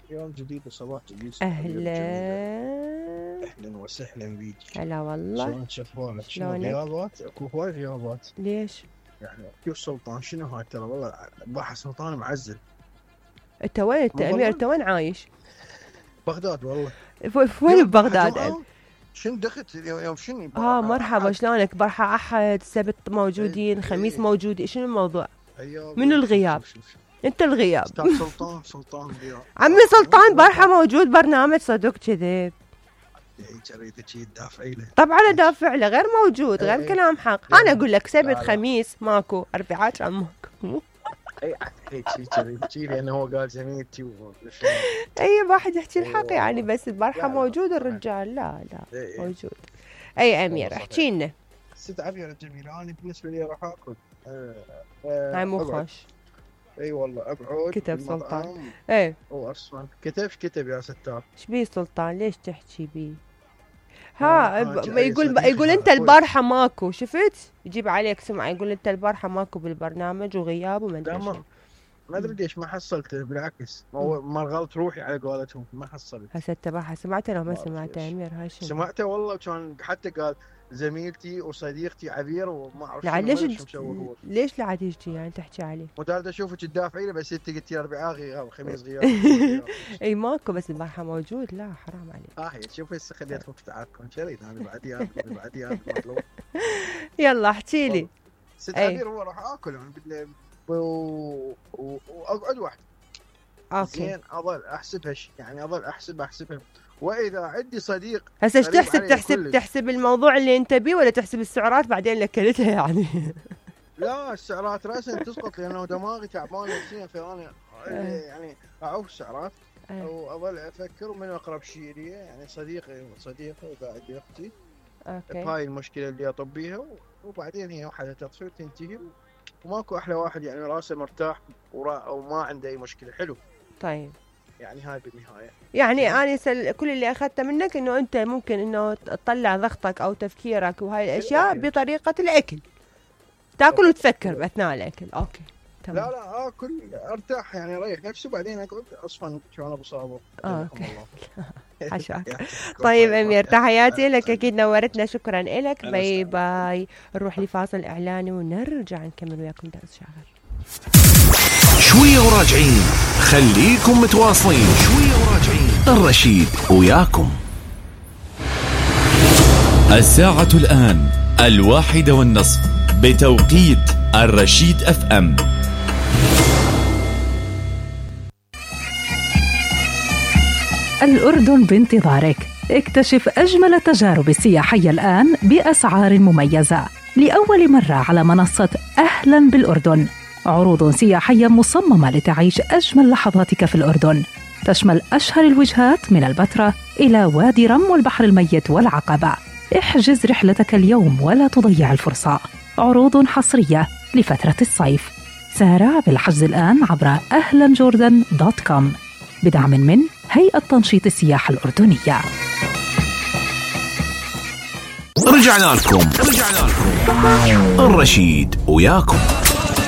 يوم جديد وصباح جديد. أهلا أهلا وسهلا بيك. هلا والله. شلونك شفوانك؟ شنو غيابات؟ اكو هواي غيابات. ليش؟ يعني كيو سلطان شنو هاي ترى والله بحر سلطان معزل. انت وين انت امير؟ انت وين عايش؟ بغداد والله. وين ببغداد؟ شنو دخلت يوم شنو؟ مرحبا شلونك؟ برحة أحد سبت موجودين خميس موجودين، شنو الموضوع؟ منو الغياب؟ انت الغياب. سلطان الغياب. عمي سلطان برحة موجود برنامج صدق كذب. جريدة شي تدافعي له. طبعا ادافع له، غير موجود غير كلام حق. انا اقول لك سبت خميس ماكو، اربعاء كان ماكو. اي شي لانه هو قال زميلتي اي واحد يحكي الحق يعني، بس البارحة موجود الرجال. لا موجود. اي امير احكي لنا. ست عبير جميلة. انا بالنسبة لي راح اكل هاي مو خوش. اي والله اقعد. كتب سلطان. ايه هو اصلا كتب يا ستار. ايش بيه سلطان؟ ليش تحكي بيه؟ يقول انت البارحه ماكو، شفت؟ يجيب عليك سمعه يقول انت البارحه ماكو بالبرنامج وغياب وما ادري شو. ما ادري ليش ما حصلت، بالعكس ما غلط روحي على قولتهم، ما حصلت. هسه تبعها سمعته لو ما سمعته امير؟ هاي شنو سمعته والله، كان حتى قال زميلتي وصديقتي عبير وما اعرف ليش لا تجي يعني تحكي عليه؟ ودارت اشوفك تدافعي له، بس انت قلتي اربعاء غياب خميس غياب. اي ماكو، بس البارحه موجود. لا حرام عليك. هي شوفي هسه خليت فوق تعبكم شريت انا بعديها يلا احكي لي. ست عبير هو راح اكل انا واقعد وحدي. اوكي زين اظل احسبها يعني اظل احسبها واذا عندي صديق هسه ايش تحسب الموضوع اللي انت بيه، ولا تحسب السعرات بعدين اللي اكلتها يعني؟ لا السعرات راسا تسقط لانه دماغي تعبان نفسيا، فانا يعني اعوف السعرات واظل افكر من اقرب شيء لي يعني صديقه وقاعد اختي. اوكي هاي المشكله اللي اطب بيها، وبعدين هي وحده تصير تنتهي وماكو احلى واحد يعني راسه مرتاح وما عنده اي مشكله. حلو. طيب يعني هاي بالنهايه يعني انا كل اللي اخذته منك انه انت ممكن انه تطلع ضغطك او تفكيرك وهاي الاشياء بطريقه الاكل، تاكل وتفكر باثناء الاكل. اوكي تمام. لا اكل ارتاح يعني اريح نفسي، وبعدين اقعد اصفن كان ابو صابر. اوكي حشاك. طيب امير تحياتي لك، اكيد نورتنا، شكرا لك. باي باي. نروح لفاصل اعلاني ونرجع نكمل وياكم درس شاغر. شويه وراجعين، خليكم متواصلين. شويه وراجعين، الرشيد وياكم. الساعة الآن 1:30 بتوقيت الرشيد FM. الأردن بانتظارك. اكتشف أجمل التجارب السياحية الآن بأسعار مميزة لأول مرة على منصة أهلا بالأردن. عروض سياحية مصممة لتعيش أجمل لحظاتك في الأردن، تشمل أشهر الوجهات من البتراء إلى وادي رم والبحر الميت والعقبة. احجز رحلتك اليوم ولا تضيع الفرصة. عروض حصرية لفترة الصيف. سارع بالحجز الآن عبر ahlanjordan.com بدعم من هيئة تنشيط السياحة الأردنية. رجعنا لكم الرشيد وياكم.